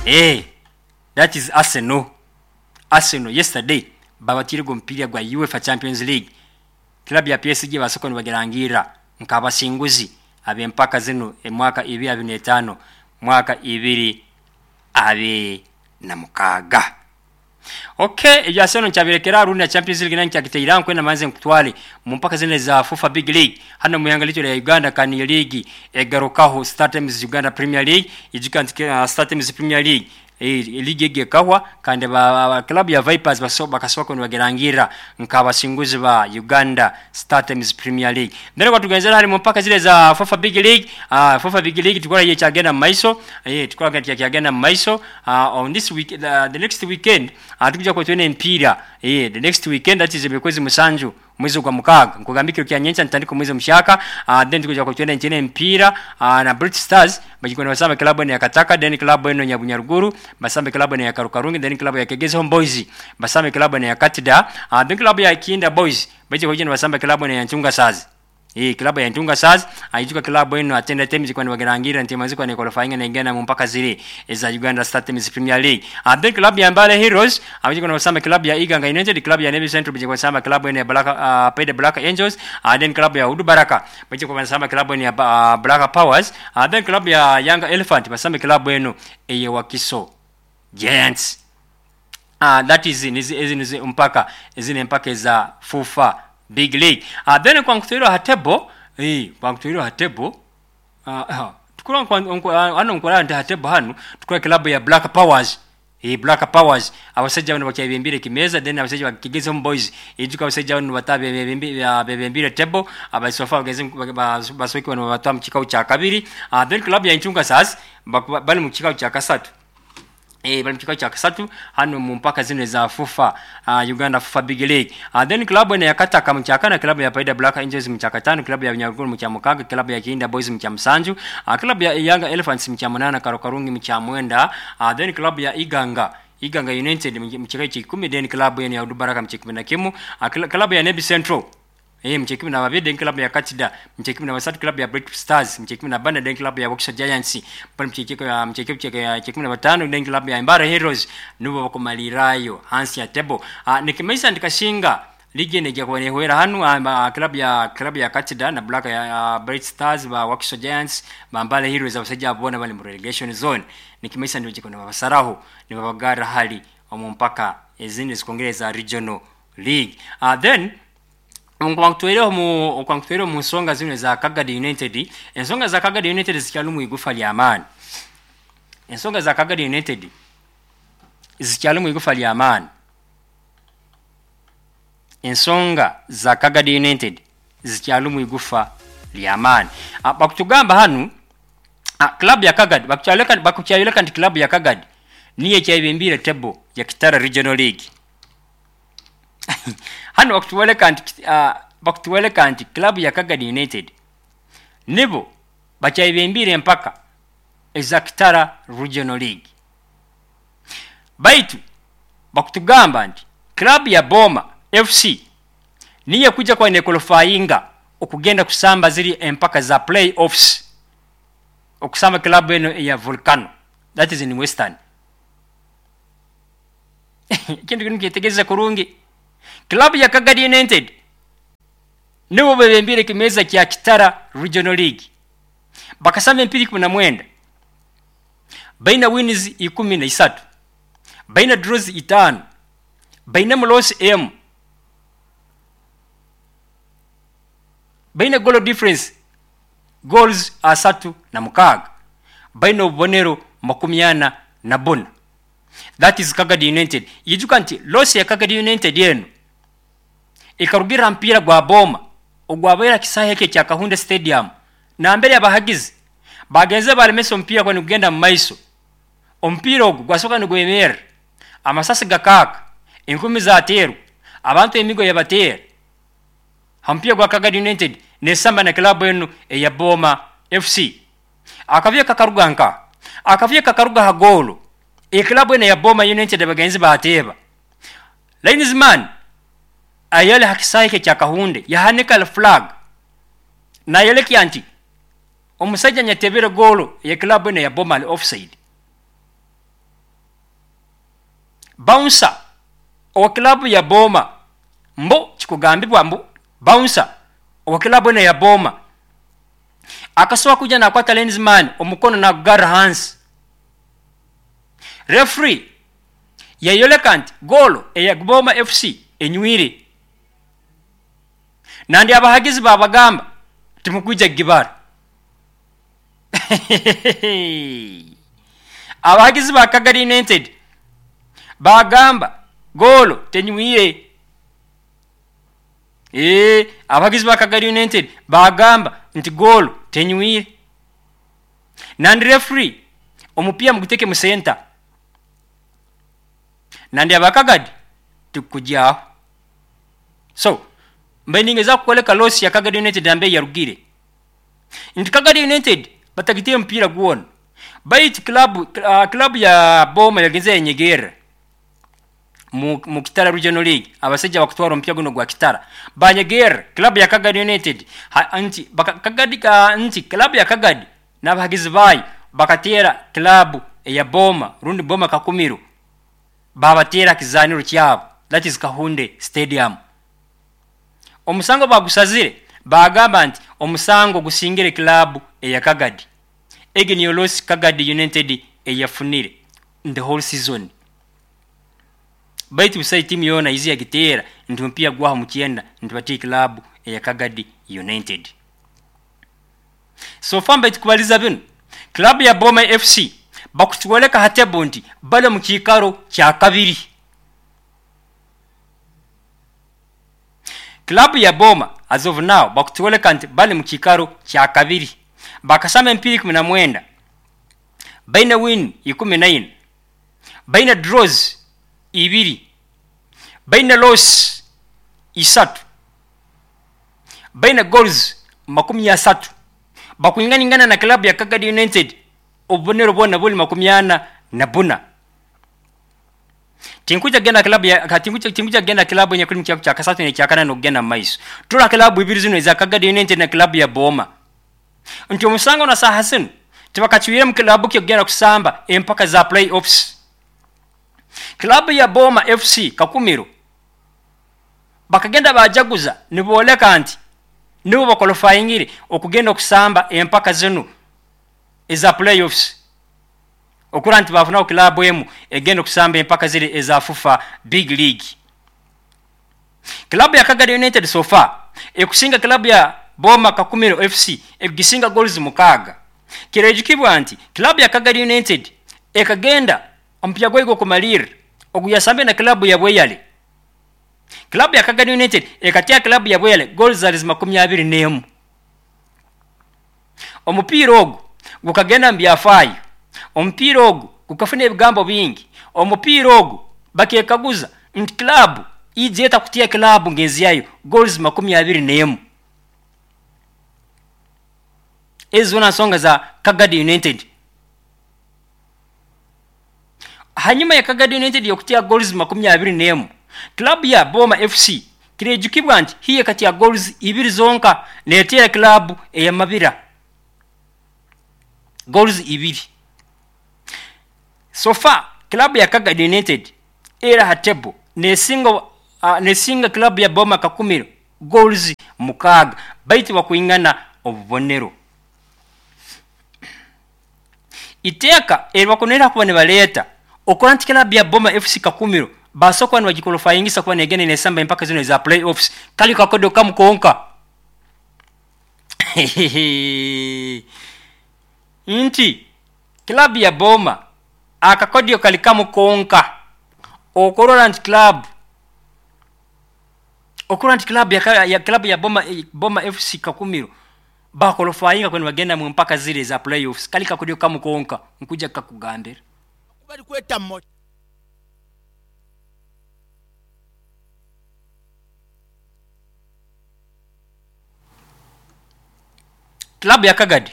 Eh, that is Arsenal. Arsenal yesterday babatiirege omupiira gwa UEFA Champions League. Club ya PSG basoka nibagirangirra nk'abasinguzi ab'empaka zinu emwaka ibiri abiri n'etaano mwaka ibiri abiri na mukaaga. Ok, ebya Arsenal nkyabirekera rundi na Champions League nayo nkyagiteire aho nkwenda manze nkutwale mu mpaka zinu eza FUFA Big League hanu omu ihanga lyaitu erya Uganda kandi niyo liigi egarukaho Star Times Uganda Premier League. Ijuka nti Star Times Premier League liigi egi ekahwa kandi ba club ya Vipers bakasoboka kuba nibagirangirra nk'abasinguzi ba Uganda Star Times Premier League. Then obu tugenzere hali mu mpaka ziri eza FUFA Big League, FUFA Big League tukora yo ekyagenda mu maiso, tukora ekyagenda mu maiso on this week, the next weekend tukuja kuba twine emipiira, the next weekend that is eby'okwezi musanju omwezi ogwa mukaaga, nkugamba ekiro kya nyenkya nitutandika omwezi omuhyaka, then tukuja kuba twine twine emipiira na Bright Stars baija kuba nibasamba club enu eya Kataka, then club enu eya Bunyaruguru basambe club enu eya Karukarungi, then club ya Kegezi Home Boys basambe club enu eya Katida, then club ya Kinda Boys baija kuba nibasamba club enu eya Ntunga Stars. Club ya Ntunga Stars, ijuka club enu atenda teams kuba nibagirangirra nti emaze kuba nequalifyinga negenda mu mpaka ziri eza Uganda Star Times Premier League. Then club ya Mbale Heroes baija kuba nibasamba club ya Iganga United, club ya Navy Central baija kuba nibasamba club enu ya Black, Paida Black Angels, then club ya Udu Baraka baija kuba nibasamba club enu ya Black Powers, then club ya Young Elephant basambe club enu eye Wakiso Giants. That is ezi nizo mpaka ezi n'empaka eza FUFA Big League. Then kwankutwire ha table, kwankutwire ha table, hanu nkurora nti ha table hanu tukurora club ya Black Powers. Black Powers abasaija banu bakyayebembiire ekimeeza, then abasaija ba Kigezi Home Boys ijuka abasaija banu nibataaha bebembiire table, so far basoboire kuba nibabatwara mu kikaru kya kabiri. Then club ya Inchunga Stars bali mu kikaru kya kasatu. Bali mu kikaru kya kasatu hanu mu mpaka zinu eza FUFA, Uganda FUFA Big League. Then club enu eya Kataka mu kyakana, club ya Paida Black Angels mu kyakataano, club ya Bunyaruguru mu kyamukaaga, club ya Kihinda Boys mu kyamusanju, club ya Young Elephants mu kyamunaana, Karukarungi mu kyamwenda, then club ya Iganga Iganga United mu kikaru ky'ikumi, then club enu ya Udubaraka mu ky'ikumi na kimu, club ya Nebi Central mu ky'ikumi na babiri, then club ya Katida mu ky'ikumi na basatu, club ya Bright Stars mu ky'ikumi na bana, then club ya Wakiso Giants bali mu ky'ikumi na bataano, then club ya Mbare Heroes nubo bakumalirrayo hansi ya table. Nikimaisa nti kasinga liigi enu eija kuba nehwera hanu, club ya Katida na Black ya Bright Stars, ba Wakiso Giants, ba Mbare Heroes, abasaija abo boona bali mu relegation zone. Nikimaisa nti baija kuba nibabasaraho nibabagarra hali omu mpaka ezindi ezikwongera eza regional league. Then obu nkuba nkutwaireho omu nsonga zinu eza Kagadi United, ensonga za Kagadi United zikyalimu igufa ly'amaani. Ensonga za Kagadi United zikyalimu igufa ly'amaani. Ensonga za Kagadi United zikyalimu igufa ly'amaani. Bakutugamba hanu club ya Kagadi bakukyayoleka nti club ya Kagadi niyo ekyayebembiire table ya Kitara Regional League. Hanu bakutwoleka nti club ya Kagadi United nibo bakyayebembiire empaka eza Kitara Regional League. Baitu bakutugamba nti club ya Boma FC niyo ekuija kuba nequalifyinga okugenda kusamba ziri empaka za play offs okusamba club enu eya Volcano, that is in Western. Ekintu kinu kyetegereze kurungi. Club ya Kagadi United nibo bebembiire ekimeeza kya Kitara Regional League. Bakasamba empiira ikumi na mwenda, baina wins ikumi na isatu, baina draws itaano, bainemu loss emu, baina goal difference goals asatu na mukaaga, baina obubonero makumi ana na buna. That is Kagadi United. Ijuka nti loss ya Kagadi United enu ekarugira ha mupiira gwa Boma ogwabaire ha kisaahe eki ekya Kahunde Stadium, nambere abahagizi bagenze balemesa omupiira kuba nigugenda mu maiso. Omupiira ogu gwasoka nigwemerra, amasasi gakaaka, enkumi zateerwa, abantu emigo yabateera ha mupiira gwa Kagadi United nesamba na club enu eya Boma FC. Akavuyo kakaruga nkaha? Akavuyo kakaruga ha goolo eclub enu eya Boma United abagenzi baateeba. Linesman ayali ha kisaahe eki ekya Kahunde yahanika flag nayolekya nti omusaija anyatebere goolo eya club enu eya Boma ali offside. Bouncer owa club ya Boma, mbu kikugambibwa mbu bouncer owa club enu eya Boma akasobola kwija nakwata linesman omukono nagugarra hansi. Referee yayoleka nti goolo eya Boma FC enywire. Nandi abahagizi babagamba timukwija kugibara. Abahagizi ba Kagadi United bagamba goolo tenywire. Abahagizi ba Kagadi United bagamba nti goolo tenywire. Nandi referee omupiira muguteke mu center. Nandi aba Kagadi tikukugyaho. So mbaire ningezaho kukwoleka loss ya Kagadi United nambere yarugire. Nti Kagadi United batagitiire omupiira gwona. Baitu club ya Boma yagenze yanyegerra mu Kitara Regional League. Abasaija bakutwara omupiira guno gwa Kitara banyegerra club ya Kagadi United. Ha, nti, baka, Kagadi ka, nti club ya Kagadi n'abahagizi baayo bakateera club eya Boma rundi Boma Kakumiro, babateera kizaniro kyabo, that is Kahunde Stadium. Omusango bagusazire bagamba nti omusango gusingire club eya Kagadi. Egi niyo loss Kagadi United eyafunire in the whole season. Baitu busayi timu yona izi yagiteera nti omupiira gwaho mu kyenda nti batiire club eya Kagadi United. So far mbaitu kubaliza binu, club ya Boma FC bakutwoleka ha table nti bali mu kiikaro kya kabiri. Club ya Boma as of now bakutwoleka nti bali mu kiikaro kya kabiri. Bakasamba emipiira ikumi na mwenda, baine win ikumi na ina, baine draws ibiri, baine loss isatu, baine goals makumi asatu. Bakwinganingana na club ya Kagadi United obubonero bwona buli makumi ana na buna. Tinkuja genda club ya, ka, tinkuja, tinkuja genda club yenye kuli mkiaku cha kasatu ne cha kana no genda maiso. Tula club ibiri zino za Kagadi United na club ya Boma. Nti omusango na saha zino tibakachuire mu club kyo genda kusamba empaka za playoffs. Club ya Boma FC Kakumiro bakagenda bajaguza niboleka nti nibo bakwalifyingire okugenda okusamba empaka zino eza playoffs. Okura nti bafuna club emu egenda okusamba empaka zile eza FUFA Big League. Club ya Kagadi United so far ekusinga club ya Boma Kakumiro FC ekugisinga goals mukaaga. Kirejukibwa nti club ya Kagadi United ekagenda omupiira gwayo gw'okumalirra oguyasambe na club ya Bweyale. Club ya Kagadi United ekatia club ya Bweyale goals zali makumi abiri n'emu. Omupiira ogu gukagenda mu byafaayo. Omupiira ogu gukafuna ebigambo bingi. Omupiira ogu bakekaguza nti club ije etakutia club ngenzi yayo goals makumi abiri n'emu. Ezo zona nsonga za Kagadi United. Hanyuma ya Kagadi United yokutia goals makumi abiri n'emu, club ya Boma FC kirejukibwa nti hiye kati ya goals ibiri zonka neetera club eya Mabira goals ibiri. So far club ya Kagadi United era hatebo nesinga club ya Boma Kakumiro goals mukaaga, baitu bakuingana obubonero. Iteeka eribakunera kuba nibaleta okora nti club ya Boma FC Kakumiro basokwa nibagikwalifyingisa kuba negenda nesamba empaka zino za playoffs kali kakodo kamukonka. Nti club ya Boma akakodio kali kamukonka okorora nti club okorora nti club ya, ya club ya Boma, Boma FC Kakumiro bakwalifyinga kwenu bagenda mu mpaka zile za playoffs kali kakodio kamukonka nkuja kakugambira bali kweta mo Club ya Kagadi.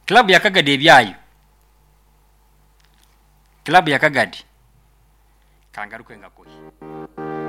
Club ya Kagadi ebyayo. Club ya Kagadi. Kangaruke ngakohi.